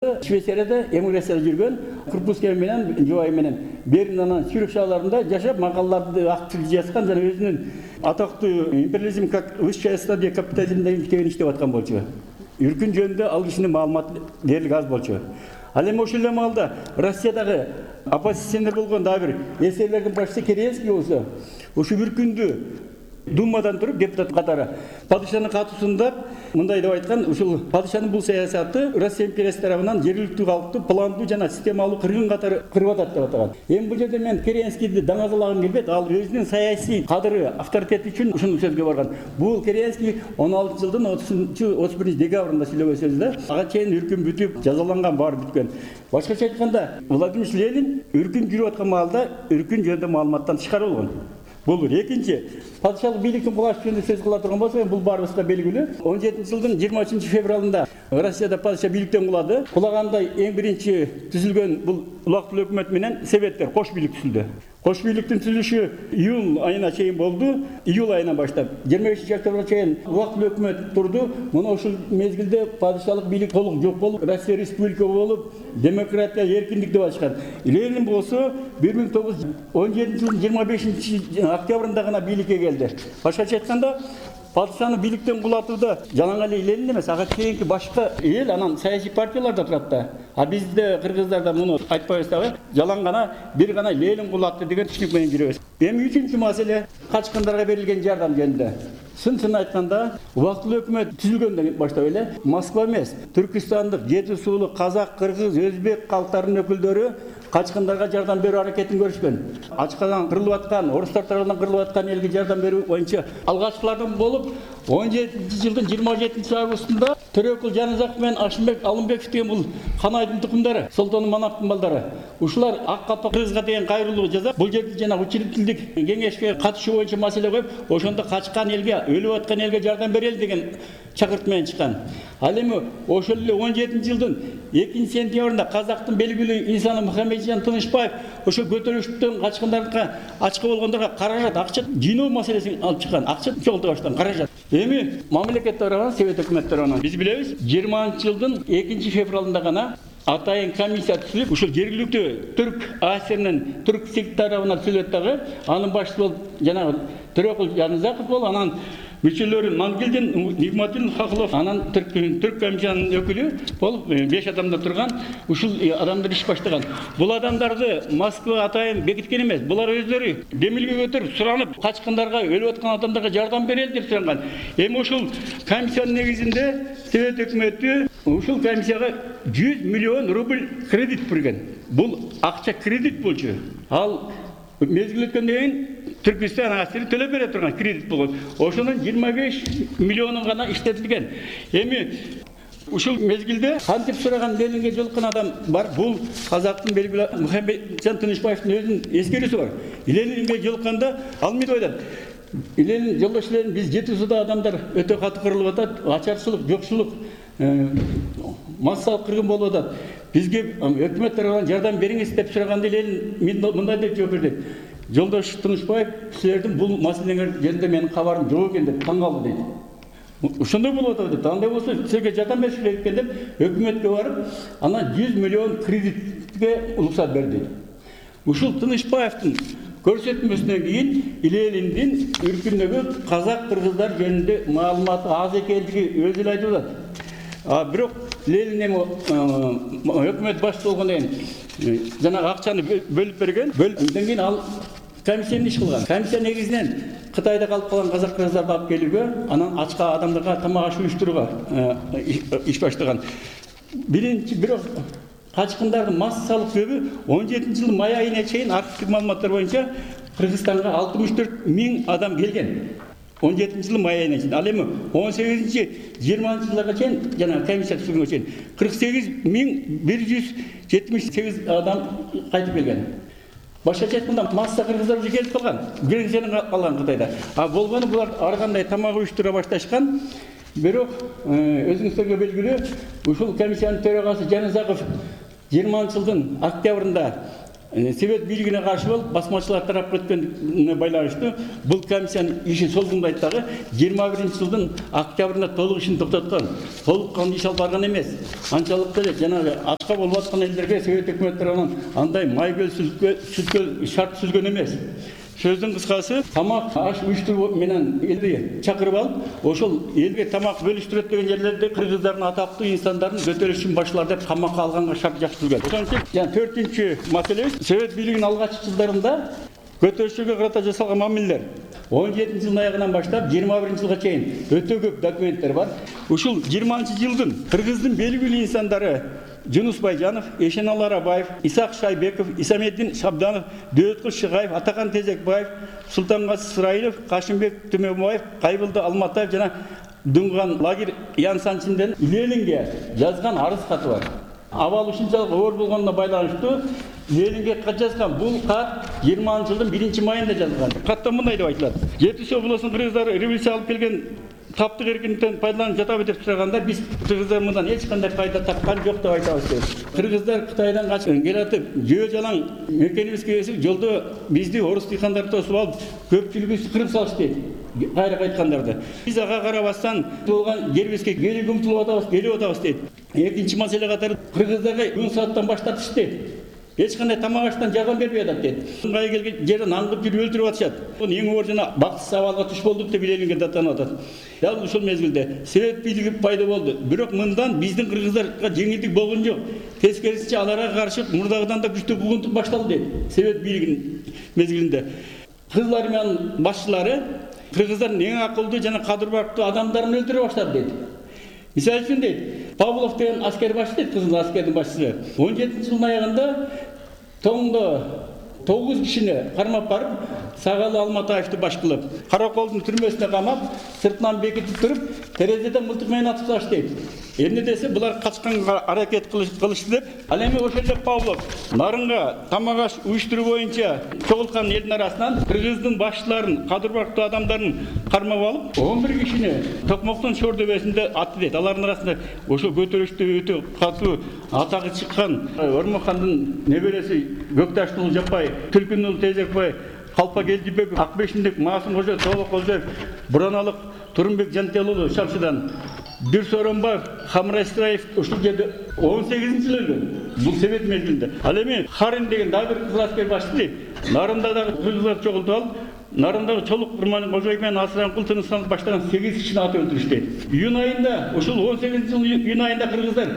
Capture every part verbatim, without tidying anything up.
Швейцарияда эмиграцияда жүргөн Курпускай менен жубайы менен Бернанын сүйрөк шаарларында жашап, макалаларды актив жазган жана өзүнүн атактуу империализм как высшая стадия капитализм деген китебин иштеп аткан болчу. Үркүн жөнүндө ал кишинин маалыматы дээрлик аз болчу. Ал эми ошол эле маалда Россиядагы оппозиционер болгон дагы бир эсерлердин башчысы Керенский болсо, ушу Үркүндү Думадан туруп депутат катары падышанын катуусунда мындай деп айткан, ушул падышанын бул саясаты Россия империясы тарабынан жергиликтүү калкты пландуу жана системалуу кыргын катары кырып атат деп атаган. Эми бул жерде мен Керенскийди даңазалагым келбейт. Ал өзүнүн саясий кадыры, авторитети үчүн ушул сөзгө барган. Бул Керенский он алтынчы жылдын отузунчу отуз биринчи декабрында сүйлөгөн сөздө ага чейин Үркүн бүтүп, жазаланган, баары бүткөн. Башкача айтканда, Владимир Ленин Үркүн жүрүп аткан маалда Үркүн жөнүндө маалыматтан тышкары болгон. Бул бир. Экинчи, падышалык бийликтин кулашы жөнүндө сөз кыла турган болсо, бул баарыбызга белгилүү. он жетинчи жылдын жыйырма үчүнчү февралында Россияда падыша бийликтен кулады. Кулаганда эң биринчи түзүлгөн бул улактуу өкмөт менен советтер, кош бийлик түзүлдү. Кош бийликтин түзүлүшү июль айына чейин болду. Июль айынан баштап жыйырма бешинчи октябрга чейин улактуу өкмөт турду. Мына ушул мезгилде падышалык бийлик толук жок болуп, Россия республика болуп, демократия, эркиндик деп ачкан. Ленин болсо бир миң тогуз жүз он жетинчи жылдын жыйырма бешинчи октябрында гана бийликке келди. Башкача айтканда, падышаны бийликтен кулатууда жалаң эле Ленин эмес, ага чейинки башка эл, анан саясий партиялар да турат да. А бизде кыргыздарда муну айтпайбыз дагы, жалаң гана бир гана Ленин кулатты деген түшүнүк менен жүрөбүз. Эми үчүнчү маселе качкындарга берилген жардам жөнүндө. Сын-сын айтканда, убактылуу өкмөт түзүлгөндөн баштап эле Москва эмес, Түркистандык, жети суулук, казак, кыргыз, өзбек калктарынын өкүлдөрү качкындарга жардам берүү аракетин көрүшкөн. Ачкадан кырылып аткан, орустар тарабынан кырылып аткан элге жардам берүү боюнча алгачкылардан болуп, он жетинчи жылдын жыйырма жетинчи августунда Төрөкул Жанызаков менен Ашымбек Алымбеков деген бул Канайдын тукумдары, Солтон Манаптын балдары. Ушулар ак калпак кыргызга деген кайрылуу жасап, бул жерде жана учредительдик кеңешке катышуу боюнча маселе коюп, ошондо качкан элге, өлүп аткан элге жардам берели деген чакырт менен чыккан. Ал эми ошол эле он жетинчи жылдын экинчи сентябрында казактын белгилүү инсаны Мухаммеджан Тынышбаев ошо көтөрүлүштөн качкандарга, ачка болгондорго каражат, акча жыйноо маселесин алып чыккан. Акча чогултуп баштаган каражат. Эми мамлекет тарабынан, Совет өкмөт тарабынан биз билебиз, жыйырманчы жылдын экинчи февралында гана атайын комиссия түзүлүп, ушул жергиликтүү түрк АСРнын түрк сик тарабынан түзүлөт дагы, анын башчысы болуп жанагы Төрөкул Жанызаков болуп, анан мүчөлөрү Мангелдин, Нигматуллин Хохлов, анан түрк түрк комиссиянын өкүлү болуп беш адамда турган ушул адамдар иш баштаган. Бул адамдарды Москва атайын бекиткен эмес. Булар өздөрү демилге көтөрүп суранып, качкындарга, өлүп аткан адамдарга жардам берели деп суранган. Эми ушул комиссиянын негизинде Совет өкмөтү ушул комиссияга жүз миллион рубль кредит берген. Бул акча кредит болчу. Ал мезгил өткөндөн кийин Түркистан АСР төлөп бере турган кредит болгон. Ошонун жыйырма беш миллиону гана иштетилген. Эми ушул мезгилде кантип сураган Ленинге жолуккан адам бар. Бул казактын белгилүү Мухаммеджан Тынышбаевдин өзүнүн эскерүүсү бар. Ленинге жолукканда ал мындай ойлойт. Ленин жолдош Ленин, биз жети сууда адамдар өтө катуу кырылып атат, ачарчылык, жокчулук, массалык кыргын болуп атат. Бизге өкмөт тарабынан жардам бериңиз деп сураганда Ленин мындай деп жооп берди. Жолдош Тынышбаев, силердин бул маселеңер жөнүндө менин кабарым жок экен деп таң калды дейт. Ошондой болуп атат дейт. Андай болсо силерге жардам бериш керек экен деп өкмөткө барып, анан жүз миллион кредитке уруксат берди дейт. Ушул Тынышбаевдин көрсөтмөсүнөн кийин Лениндин Үркүндөгү казак кыргыздар жөнүндө маалыматы аз экендиги өзү эле айтып атат. А бирок Ленин эми өкмөт башчысы болгондон кийин жана акчаны бөлүп берген. Бөлүндөн кийин ал комиссияны иш кылган. Комиссия негизинен Кытайда калып калган казак кыргыздарды алып келүүгө, анан ачка адамдарга тамак аш уюштурууга иш баштаган. Биринчи бирок качкындардын массалык көбү он жетинчи жылдын май айына чейин архивдик маалыматтар боюнча Кыргызстанга алтымыш төрт миң адам келген. он жетинчи жылдын май айына чейин. Ал эми он сегизинчи жыйырманчы жылдарга чейин жана комиссия түзүлгөнгө чейин кырк сегиз миң бир жүз жетимиш сегиз адам кайтып келген. Башкача айтканда масса кыргыздар уже келип калган. Гренциядан калган Кытайда. А болгону булар ар кандай тамак уюштура башташкан. Бирок өзүңүздөргө белгилүү, ушул комиссиянын төрагасы Жанызаков жыйырманчы жылдын октябрында Совет бийлигине каршы болуп басмачылар тарап кеткенине байланыштуу бул комиссиянын иши созулмайт дагы жыйырма биринчи жылдын октябрында толук ишин токтоткон. Толук кандуу иш алып барган эмес. Анчалык деле жанагы ачка болуп аткан элдерге совет өкмөт тарабынан андай майгөл сүткө шарт түзүлгөн эмес. Сөздүн кыскасы, тамак аш уюштуруу менен элди чакырып алып, ошол элге тамак бөлүштүрөт деген жерлерде кыргыздардын атактуу инсандарын көтөрүшүн башлар деп камакка алганга шарт жазылган. Ошончо жана төртүнчү маселебиз совет бийлигинин алгачкы жылдарында көтөрүшүүгө карата жасалган мамилелер. он жетинчи жылдын аягынан баштап жыйырма биринчи жылга чейин өтө көп документтер бар. Ушул жыйырманчы жылдын кыргыздын белгилүү инсандары Жунус Байжанов, Эшеналы Арабаев, Исак Шайбеков, Исамеддин Шабданов, Дөөткүл Шыгаев, Атакан Тезекбаев, Султангазы Сырайылов, Кашымбек Түмөбаев, Кайбылды Алматаев жана Дунган лагерь Ян Санчинден Ленинге жазган арыз каты бар. Абал ушунчалык оор болгонуна байланыштуу Ленинге кат жазган. Бул кат жыйырманчы жылдын биринчи майында жазылган. Катта мындай деп айтылат: Жети Суу облусунун кыргыздары революция алып келген таптык эркиндиктен пайдаланып жатабы деп сураганда биз кыргыздар мындан эч кандай пайда тапкан жок деп айтабыз дейт. Кыргыздар Кытайдан качып келатып, жөө жалаң мекенибизге келип, жолдо бизди орус дыйкандарды тосуп алып, көпчүлүгүбүздү кырып салышты дейт. Кайра кайткандарда биз ага карабастан болгон жерибизге келип умтулуп атабыз, келип атабыз дейт. Экинчи маселе катары кыргыздарга он сааттан баш тартышты дейт. Эч кандай тамак аштан жардам бербей атат дейт. Ыңгай келген жерден аңгып жүрүп өлтүрүп атышат. Муну эң оор жана бакытсыз абалга туш болдук деп Ленинге даттанып атат. Дал ушул мезгилде совет бийлиги пайда болду. Бирок мындан биздин кыргыздарга жеңилдик болгон жок. Тескерисинче аларга каршы мурдагыдан да күчтүү бугунтук башталды дейт. Совет бийлигинин мезгилинде Кызыл армиянын башчылары кыргыздардын эң акылдуу жана кадыр барктуу адамдарын өлтүрө баштады дейт. Мисалы үчүн дейт, Павлов деген аскер башчы дейт, кызыл аскердин башчысы. он жетинчи жылдын аягында тоңдо тогуз кишини кармап барып, Сагалы Алматаевди баш кылып, Караколдун түрмөсүнө камап, сыртынан бекитип туруп, терезеден мылтык менен атып салышты дейт. Эмне десе, булар качканга аракет кылышты деп, ал эми ошол эле Павлов нарынга тамак аш уюштуруу боюнча чогулткан элдин арасынан кыргыздын башчыларын, кадыр барктуу адамдарын кармап алып, он бир кишини Токмоктун Шор дөбөсүндө атты дейт. Алардын арасында ошол көтөрүштө өтө катуу атагы чыккан Ормохандын небереси Көкташтуулу Жаппай, Түлкүнүлү Тезекбай, Калпак Элдибеков, Акбешиндик Маасым Кожоев, Тоолок Кожоев, Бураналык Турунбек Жантелуулу Шамшыдан, Дүрсоронбаев, Хамрай Сыраев ушул жерде он сегизинчи жылы өлгөн. Бул совет мезгилинде. Ал эми Харин деген дагы бир кызыл аскер башчы дейт. Нарында дагы кыргыздар чогултуп алып, нарындагы Чолук Курман Кожоев менен Асыранкул Тыныстанов баштаган сегиз кишини атып өлтүрүштү дейт. Июнь айында, ушул он сегизинчи жылдын июнь айында кыргыздар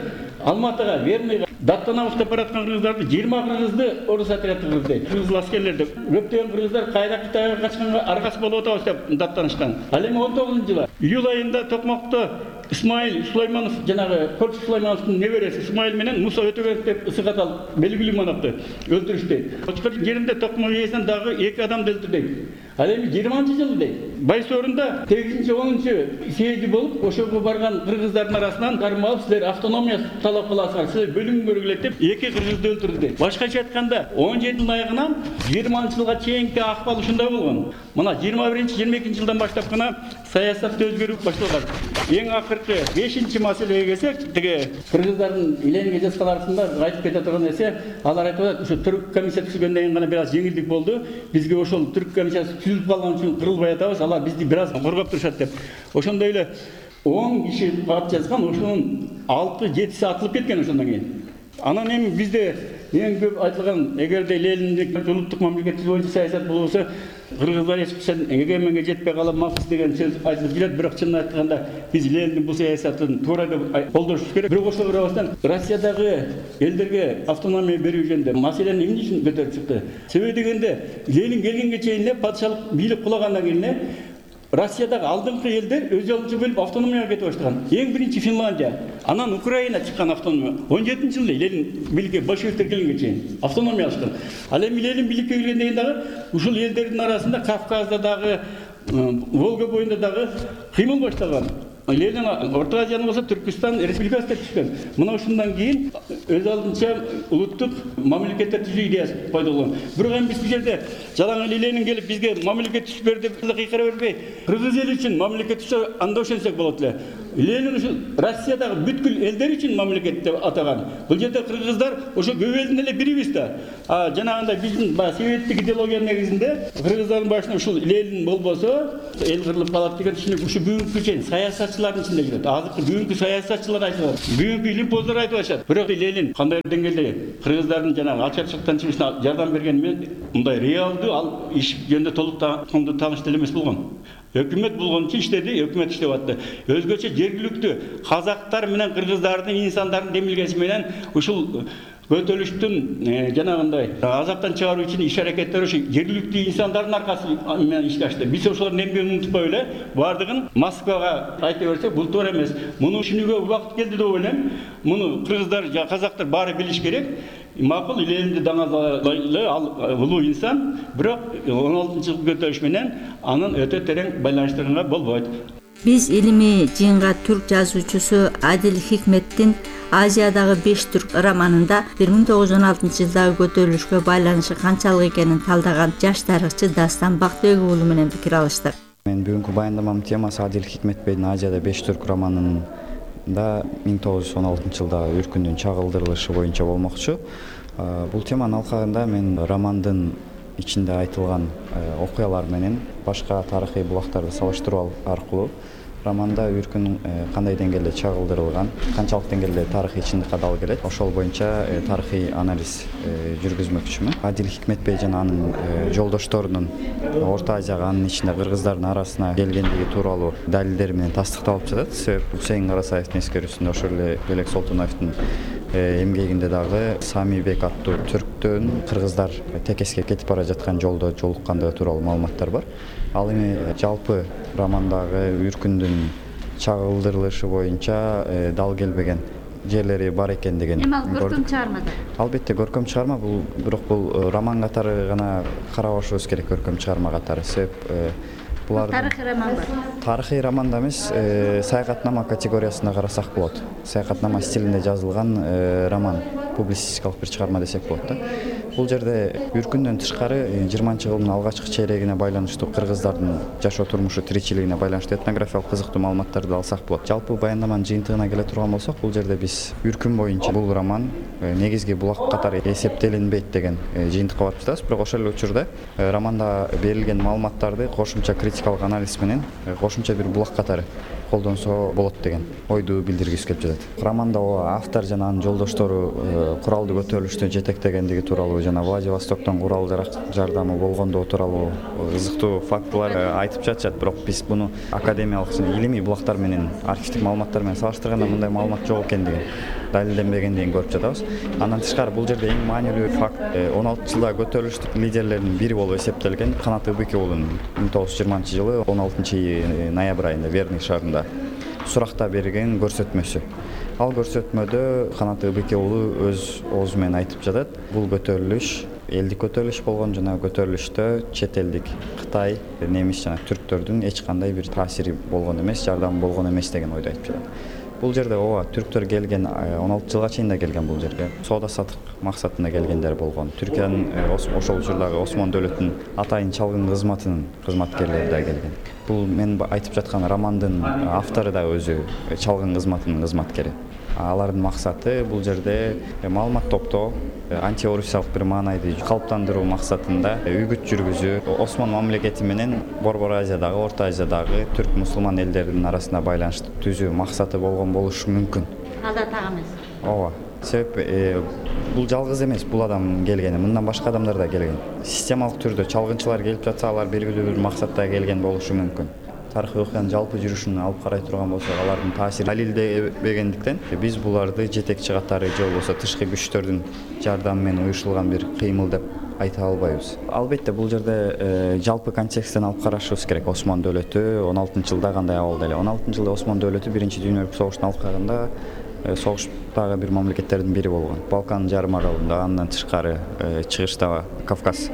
Алматыга, Верныйга даттанабыз деп бараткан кыргыздарды жыйырма кыргызды орус отряды кырды дейт. Кыргыз аскерлерди көптөгөн кыргыздар кайра Кытайга качканга аргасы болуп атабыз деп даттанышкан. Ал эми он тогузунчу жылы июль айында Токмокто Исмаил Сулайманов жанагы Корчу Сулаймановдун небереси Исмаил менен Муса Өтөгөнов деп ысыкатал белгилүү манапты өлтүрүштү дейт. Очкор жеринде Токмок ээсинен дагы эки адамды өлтүрдү дейт. Ал эми жыйырманчы жылы дейт. Байсорунда сегизинчи онунчу съезди болуп, ошого барган кыргыздардын арасынан кармап алып, силер автономия талап кыласыңар, силер бөлүнгөнгө келет деп эки кыргызды өлтүрдү дейт. Башкача айтканда он жети жылдын аягынан жыйырманчы жылга чейинки акыбал ушундай болгон. Мына жыйырма биринчи жыйырма экинчи жылдан баштап гана саясатта өзгөрүү башталган. Эң акыркы бешинчи маселеге келсек, тиги кыргыздардын Ленинге жазган арасында айтып кете турган нерсе, алар айтып атат, ушу түрк комиссия түзүлгөндөн кийин гана бир аз жеңилдик болду. Бизге ошол түрк комиссиясы түзүлүп калган үчүн кырылбай атабыз, алар бизди бир аз коргоп турушат деп. Ошондой эле он киши кат жазган, ошонун алты жетиси атылып кеткен ошондон кийин. Анан эми бизде эң көп айтылган, эгерде Лениндик улуттук мамлекеттик боюнча саясат болсо, кыргыздар эч качан эгеменге жетпей каламакпыз деген сөз айтылып жүрөт. Бирок чынын айтканда биз Лениндин бул саясатын туура деп колдошубуз керек. Бирок ошого карабастан Россиядагы элдерге автономия берүү жөнүндө маселени эмне үчүн көтөрүп чыкты? Себеби дегенде Ленин келгенге чейин эле патшалык бийлик кулагандан кийин эле Россиядагы алдыңкы элдер өз жолунча бөлүп автономияга кетип баштаган. Эң биринчи Финляндия, анан Украина чыккан автономия. он жетинчи жылы Ленин бийликке большевиктер келгенге чейин автономия алышкан. Ал эми Ленин бийликке келгенден кийин дагы ушул элдердин арасында Кавказда дагы, Волга боюнда дагы кыймыл башталган. Ленин Орто Азияны болсо Түркистан республикасы деп түшкөн. Мына ушундан кийин өз алдынча улуттук мамлекеттер түзүү идеясы пайда болгон. Бирок эми биз бул жерде жалаң эле Ленин келип бизге мамлекет түзүп бер деп кыйкыра бербей, кыргыз эли үчүн мамлекет түзүп анда ошентсек болот эле. Ленин ушул Россиядагы бүткүл элдер үчүн мамлекет деп атаган. Бул жерде кыргыздар ошо көбөлдүн эле бирибиз да. А жанагындай биздин баягы советтик идеологиянын негизинде кыргыздардын башына ушул Ленин болбосо эл кырылып калат деген түшүнүк ушу бүгүнкү чейин саясатчылардын ичинде жүрөт. Азыркы бүгүнкү саясатчылар айтып, бүгүнкү илимпоздор айтып атышат. Бирок Ленин кандай деңгээлде кыргыздардын жанагы алчачылыктан чыгышына жардам берген мен мындай реалдуу ал иш жөнүндө толук тааныш деле эмес болгон. Өкмөт болгон үчүн иштеди, өкмөт иштеп атты. Өзгөчө жергиликтүү казактар менен кыргыздардын инсандардын демилгеси менен ушул көтөрүлүштүн жанагындай азаптан чыгаруу үчүн иш аракеттер ушу жергиликтүү инсандардын аркасы менен ишке ашты. Биз ошолордун эмгегин унутпай эле баардыгын Москвага айта берсек бул туура эмес. Муну түшүнүүгө убакыт келди деп ойлойм. Муну кыргыздар жана казактар баары билиш керек. Макул Ленинди даңазалайлы ал улуу инсан, бирок он алтынчы жылкы көтөрүлүш менен анын өтө терең байланыштырганга болбойт. Биз илимий жыйынга түрк жазуучусу Адил Хикметтин Азиядагы беш түрк романында бир миң тогуз жүз он алтынчы жылдагы көтөрүлүшкө байланышы канчалык экенин талдаган жаш тарыхчы Дастан Бактыбек уулу менен пикир алыштык. Мен бүгүнкү баяндамамдын темасы Адил Хикметбейдин Азияда беш түрк романын да миң тогуз жүз он алтынчы жылда үркүндүн чагылдырылышы боюнча болмокчу. Бул теманын алкагында мен романдын ичинде айтылган окуялар менен башка тарыхый булактарды салыштыруу аркылуу романда үркүн кандай деңгээлде чагылдырылган, канчалык деңгээлде тарыхый чындыкка дал келет, ошол боюнча тарыхый анализ жүргүзмөкчүмүн. Адил Хикметбей жана анын жолдошторунун Орто Азияга, анын ичинде кыргыздардын арасына келгендиги тууралуу далилдер менен тастыкталып жатат. Себеби Усейин Карасаевдин эскерүүсүндө ошол эле Белек Солтоновдун эмгегинде дагы Самийбек аттуу түрктөн кыргыздар текеске кетип бара жаткан жолдо жолуккандыгы тууралуу маалыматтар бар. Ал эми жалпы романдагы үркүндүн чагылдырылышы боюнча дал келбеген жерлери бар экендигин. Эми ал көркөм чыгарма да? Албетте көркөм чыгарма, бул бирок бул роман катары гана карабашыбыз керек, көркөм чыгарма катары. Себеп булар тарыхый роман бар. Тарыхый романда эмес, саякатнама категориясында карасак болот. Саякатнама стилинде жазылган роман, публицистикалык бир чыгарма десек болот да. Бул жерде үркүндөн тышкары жыйырманчы кылымдын алгачкы чейрегине байланыштуу кыргыздардын жашоо турмушу, тиричилигине байланыштуу этнографиялык кызыктуу маалыматтарды алсак болот. Жалпы баяндаманын жыйынтыгына келе турган болсок, бул жерде биз үркүн боюнча бул роман негизги булак катары эсептелинбейт деген жыйынтыкка барып жатабыз. Бирок ошол эле учурда романда берилген маалыматтарды кошумча критикалык анализ менен кошумча бир булак катары колдонсо болот деген ойду билдиргибиз келип жатат. Романда автор жана анын жолдоштору куралдуу көтөрүлүштү жетектегендиги тууралуу жана Владивостоктон курал жардамы болгондугу тууралуу кызыктуу фактылар айтып жатышат. Бирок биз буну академиялык жана илимий булактар менен, архивдик маалыматтар менен салыштырганда мындай маалымат жок экендигин, далилденбегендигин көрүп жатабыз. Андан тышкары бул жерде эң маанилүү факт он алтынчы жылдагы көтөрүлүштүн лидерлеринин бири болуп эсептелген Канат Ыбыки уулунун миң тогуз жүз жыйырманчы жылы он алтынчы ноябрь айында Верный шаарында суракта берген көрсөтмөсү. Ал көрсөтмөдө Канат Ыбыки уулу өз оозу менен айтып жатат. Бул көтөрүлүш элдик көтөрүлүш болгон, жана көтөрүлүштө чет элдик Кытай, немис жана түрктөрдүн эч кандай бир таасири болгон эмес, жардамы болгон эмес деген ойду айтып жатат. Бул жерде ооба түрктөр келген он алты жылга чейин да келген бул жерге. Соода сатык максатында келгендер болгон. Түркиянын ошол учурдагы Осмон дөөлөтүнүн атайын чалгын кызматынын кызматкерлери да келген. Бул мен айтып жаткан романдын автору да өзү чалгын кызматынын кызматкери. Алардын максаты бул жерде маалымат топтоо, антиорусиялык бир маанайды калыптандыруу максатында үгүт жүргүзүү, Осмон мамлекети менен Борбор Азиядагы, Орто Азиядагы түрк мусулман элдеринин арасына байланыштуу түзүү максаты болгон болушу мүмкүн. Ал да так эмес. Ооба. Себеп бул жалгыз эмес, бул адам келген, мындан башка адамдар да келген. Системалык түрдө чалгынчылар келип жатса, алар белгилүү бир максатта келген болушу мүмкүн. Тарыхый окуянын жалпы жүрүшүн алып карай турган болсок, алардын таасири далилденбегендиктен биз буларды жетекчи катары же болбосо тышкы күчтөрдүн жардамы менен уюшулган бир кыймыл деп айта албайбыз. Албетте бул жерде жалпы контексттен алып карашыбыз керек. Осмон дөөлөтү он алтынчы жылда кандай абалда эле? он алтынчы жылда Осмон дөөлөтү биринчи дүйнөлүк согуштун алкагында согуштагы бир мамлекеттердин бири болгон. Балкан жарым аралында, андан тышкары чыгыштагы Кавказ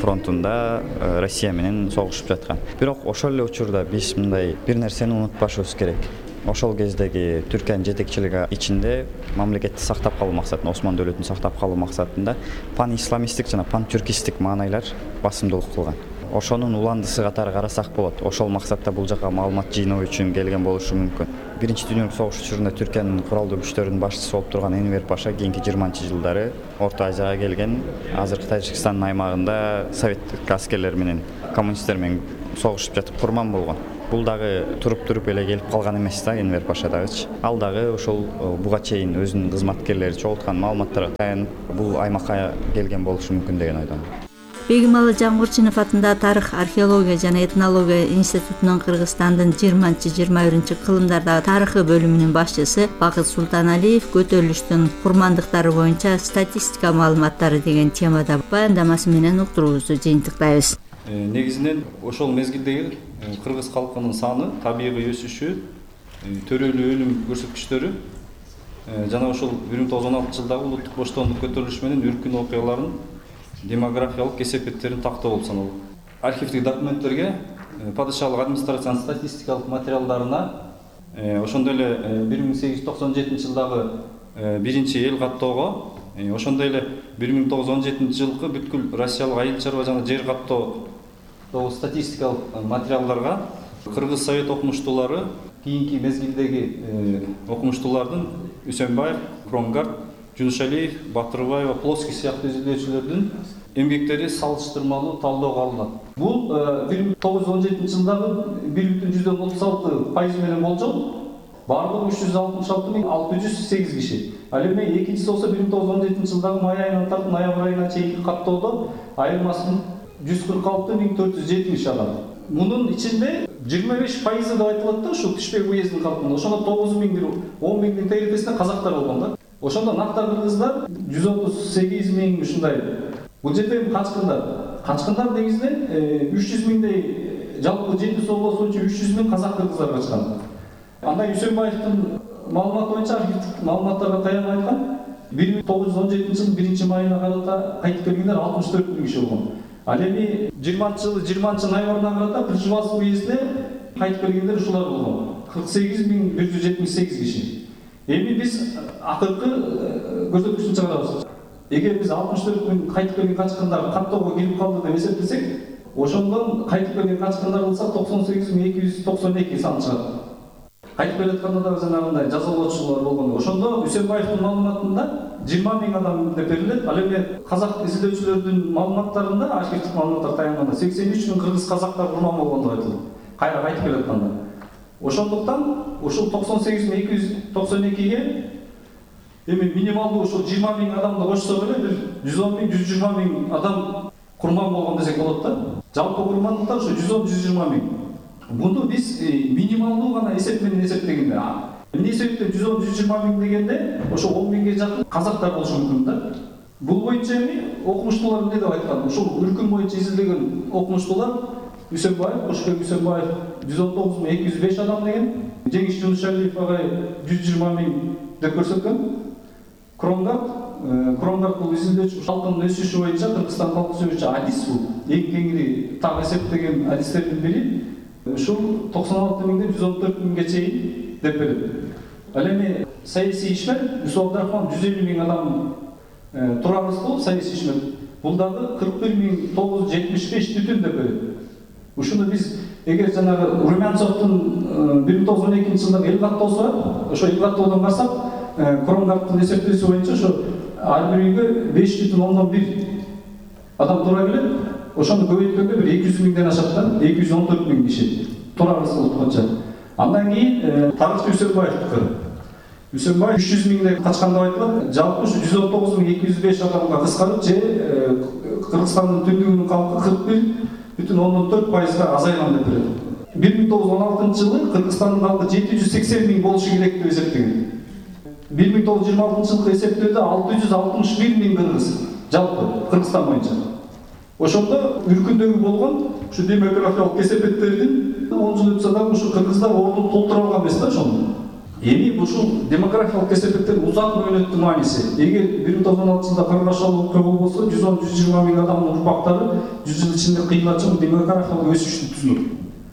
фронтунда Россия менен согушуп жаткан. Бирок ошол эле учурда биз мындай бир нерсени унутпашыбыз керек. Ошол кездеги Түркиянын жетекчилиги ичинде мамлекетти сактап калуу максатында, Осмон дөөлөтүн сактап калуу максатында пан-исламисттик жана пан-түркистик маанайлар басымдуулук кылган. ошонун уландысы катары карасак болот. Ошол максатта бул жака маалымат жыйноо үчүн келген болушу мүмкүн. Биринчи дүйнөлүк согуш учурунда Түркиянын куралдуу күчтөрүнүн башчысы болуп турган Энвер Паша кийинки жыйырманчы жылдары Орто Азияга келген, азыркы Тажикстандын аймагында советтик аскерлер менен, коммунисттер менен согушуп жатып курман болгон. Бул дагы туруп-туруп эле келип калган эмес да, Энвер Паша дагычы. Ал дагы ошол буга чейин өзүнүн кызматкерлери чогулткан маалыматтарга таянып бул аймакка келген болушу мүмкүн деген ойдомун. Бегималы Жамгырчинов атындагы Тарых, археология жана этнология институтунун Кыргызстандын жыйырманчы жыйырма биринчи кылымдардагы тарыхы бөлүмүнүн башчысы Бакыт Султаналиев көтөрүлүштүн курмандыктары боюнча статистика маалыматтары деген темада баяндамасы менен уктуруубузду жыйынтыктайбыз. Негизинен ошол мезгилдеги кыргыз калкынын саны, табигый өсүшү, төрөлүү өлүм көрсөткүчтөрү жана ошол бир миң тогуз жүз он алтынчы жылдагы улуттук боштондук көтөрүлүшү менен үркүн окуяларын демографиялык кесепеттерин тактоо болуп саналат. Архивдик документтерге, падышалык администрациянын статистикалык материалдарына, ошондой эле бир миң сегиз жүз токсон жетинчи жылдагы биринчи эл каттоого, ошондой эле бир миң тогуз жүз он жетинчи жылкы бүткүл Россиялык айыл чарба жана жер каттоодогу статистикалык материалдарга кыргыз совет окумуштуулары кийинки мезгилдеги окумуштуулардын Үсөнбаев, Кронгард, Жунушалиев, Батырбаева, Плоский сыяктуу изилдөөчүлөрдүн эмгектери салыштырмалуу талоого алынат. Бул бир миң тогуз жүз он жетинчи жылдагы бир бүтүн жүздөн отуз алты пайыз менен болжол. Бардыгы үч жүз алтымыш алты миң алты жүз сегиз киши. Ал эми экинчиси болсо бир миң тогуз жүз он жетинчи жылдагы май айынан тартып ноябрь айына чейинки каттоодо айырмасын жүз кырк алты миң төрт жүз жетимиш адам. Мунун ичинде жыйырма беш пайызы деп айтылат да, ушул Түшбек уездинин калкында. Ошондо тогуз миң бир он миңдин тегересинде казактар болгон да. Ошондо накта кыргыздар жүз отуз сегиз миң ушундай. Бул жерде качкындар. Качкындар негизинен үч жүз миңдей жалпы жети соолосуучу үч жүз миң казак кыргыздар качкан. Андай Үсөнбаевдин маалыматы боюнча, архивдик маалыматтарга таянып айткан, бир миң тогуз жүз он жетинчи жылдын биринчи майына карата кайтып келгендер алтымыш төрт миң киши болгон. Ал эми жыйырманчы жылы жыйырманчы ноябрына карата Кыржыбас уездине кайтып келгендер ушулар болгон. кырк сегиз миң бир жүз жетимиш сегиз киши. Эми биз акыркы көрсөткүчтү чыгарабыз. Эгер биз алтымыш төрт миң кайтып келген качкындар каттоого кирип калды деп эсептесек, ошондон кайтып келген качкындар кылсак токсон сегиз миң эки жүз токсон эки сан чыгат. Кайтып келатканда дагы жанагындай жазалоочулар болгон. Ошондо Үсөнбаевдин маалыматында жыйырма миң адам деп берилет. Ал эми казак изилдөөчүлөрдүн маалыматтарында, архивдик маалыматтар таянганда сексен үч миң кыргыз казактар курман болгон деп айтылат. Кайра кайтып келатканда. Ошондуктан ушул токсон сегиз миң эки жүз токсон экиге эми минималдуу ушул жыйырма миң адамды кошсок эле бир жүз он миң жүз жыйырма миң адам курман болгон десек болот да. Жалпы курмандыктар ушу жүз он жүз жыйырма миң. Муну биз минималдуу гана эсеп менен эсептегенде, эмне себептен жүз он жүз жыйырма миң дегенде ошо он миңге жакын казактар болушу мүмкүн да. Бул боюнча эми окумуштуулар эмне деп айткан? Ушул үркүн боюнча изилдеген окумуштуулар Үсөнбаев, Кошбек Үсөнбаев жүз он тогуз миң эки жүз беш адам деген, Жеңиш Жунушалиев агай жүз жыйырма миң деп көрсөткөн. Кронгард, Кронгард бул изилдөөчү калкынын өсүшү боюнча Кыргызстан калкы сөзүчү адис бул. Эң кеңири так эсептеген адистердин бири. Ушул токсон алты миңден жүз он төрт миңге чейин деп берет. Ал эми саясий ишмер Юсуп Абдрахман жүз элүү миң адам Тура Рыскулов саясий ишмер. Бул дагы кырк бир миң тогуз жүз жетимиш беш бүтүн деп берет. Ушуну биз эгер жанагы Румянцовдун бир миң тогуз жүз он экинчи жылдагы эл каттоосу бар, ошо эл каттоодон карасак, Кронгардтын эсептөөсү боюнча ошо ар бир үйгө беш бүтүн ондон бир адам туура келет. Ошону көбөйткөндө бир эки жүз миңден ашат да, эки жүз он төрт миң киши. Тура Рыскулов боюнча. Андан кийин тарыхчы Үсөнбаевдики. Үсөнбаев үч жүз миңдей качкан деп айтылат. Жалпы ушу жүз он тогуз миң эки жүз беш адамга кыскарып, же Кыргызстандын түндүгүнүн калкы кырк бир бүтүн ондон төрт пайызга азайган деп берет. бир миң тогуз жүз он алтынчы жылы Кыргызстандын калкы жети жүз сексен миң болушу керек деп эсептеген. бир миң тогуз жүз жыйырма алтынчы жылкы эсептөөдө алты жүз алтымыш бир миң кыргыз жалпы Кыргызстан боюнча. Ошондо үркүндөгү болгон ушу демографиялык кесепеттердин он жыл өтсө дагы ушу кыргыздар ордун толтура алган эмес да ошондо. Эми ушул демографиялык кесепеттердин узак мөөнөттүү мааниси. Эгер бир миң тогуз жүз он алтынчы жылда кыргызчалык окуя болбосо, жүз он жүз жыйырма миң адамдын урпактары жүз жыл ичинде кыймылча демографиялык өсүштү түзүнөт.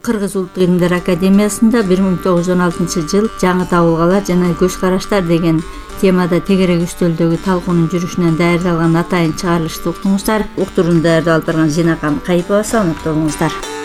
Кыргыз Улуттук илимдер академиясында бир миң тогуз жүз он алтынчы жыл жаңы табылгалар жана көз караштар деген темада тегерек үстөлдөгү талкуунун жүрүшүнөн даярдалган атайын чыгарылышты уктуңуздар. Уктурууну даярдап алып барган Зинакан Кайыпова. Саламатта болуңуздар.